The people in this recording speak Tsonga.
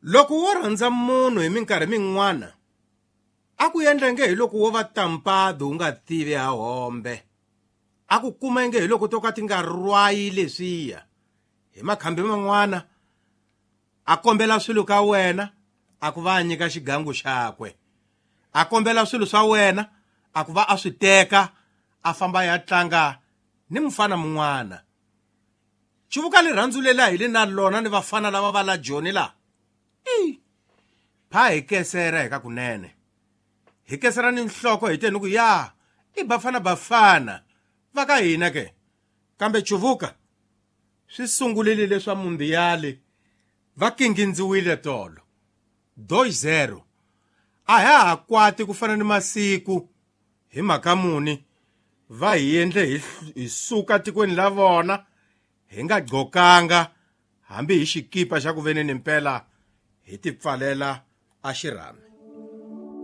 Loko wo rhandza munhu hi minkarhi min'wana a ku endla nge hi loko wo va tampadi u nga tivi ha hombe. A ku kuma nge hi loko to ka ti nga rwayi leswiya. Hi makhambi man'wana a kombela swilo ka wena a ku va a nyika xigangu xakwe. A kombela swilo swa wena a ku va a swi teka a famba ya tlanga ni mufana mun'wana. Chuvuka lirhandzu leri a hi li na lona ni vafana lava va la Joni la. I pha hi kesera hi ka kunene. Hi kesera ni nhloko hi te ni ku ya i bafana bafana va ka hina ke. Kambe Chuvuka swi sungulile leswa mundiyali va kingindziwile tolo. 2-0. A ha ha kwati ku fana ni masiku hi mhaka muni va hi endle hi suka tikweni la vona hi nga gqokanga hambi hi xikipa xa ku veneni mpela hi tipfalela a xirhami.